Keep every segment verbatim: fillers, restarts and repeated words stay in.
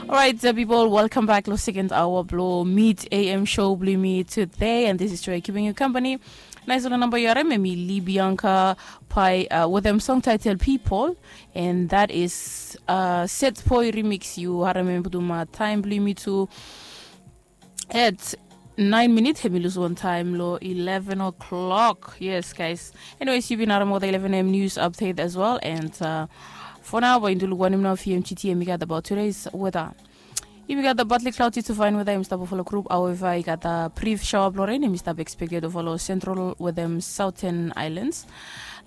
Alright, uh, people, welcome back lo second hour blo Mid A M show blo mi today, and this is Joy keeping you company. Nice lo namba yu harem, em i Lee Bianca Pai, uh, with them song title People, and that is, uh, Set Boy remix. Yu harem em putum, uh, time blo mi tu at nine minute, hemi lus wan time lo eleven o'clock. Yes, guys. Anyways, yu bin harem ol eleven a.m. news update as well, and, uh, for now, bae yumi luk wanem nao fi M G T hemi gat about today's weather. Yumi gat the partly cloudy to fine weather, hemi stap ova lo group. However, i gat the brief shower blo rain hemi stap expected ova lo central with them southern islands.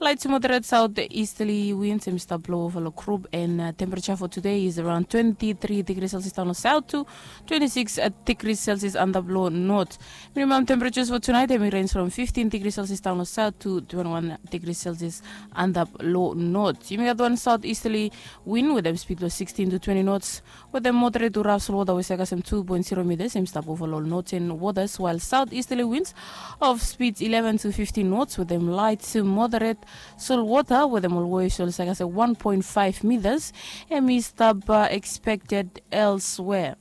Light to moderate southeasterly winds hemi stap blo ova lo group, and, uh, temperature for today is around twenty-three degrees Celsius down lo south to twenty-six, uh, degrees Celsius antap lo north. Minimum temperatures for tonight hemi range from fifteen degrees Celsius down lo south to twenty-one degrees Celsius antap lo north. Yumi gat wan southeasterly wind with them speed lo sixteen to twenty knots, with them moderate to rough shoal water we save kasem two point zero meters, hemi stap ova lo northern waters, while southeasterly winds of speed eleven to fifteen knots with them light to moderate shoal water, with them always shoal save kasem one point five meters, hemi stap, uh, expected elsewhere.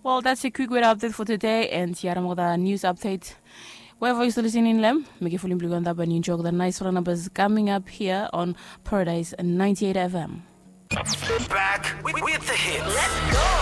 Well, that's a quick weather update for today, and yu harem ol news update. Wherever yu stap listening lo hem, mekem fulum blo yu antap and yu enjoy the nice numbers coming up here on Paradise ninety-eight F M. Back with, with the hits.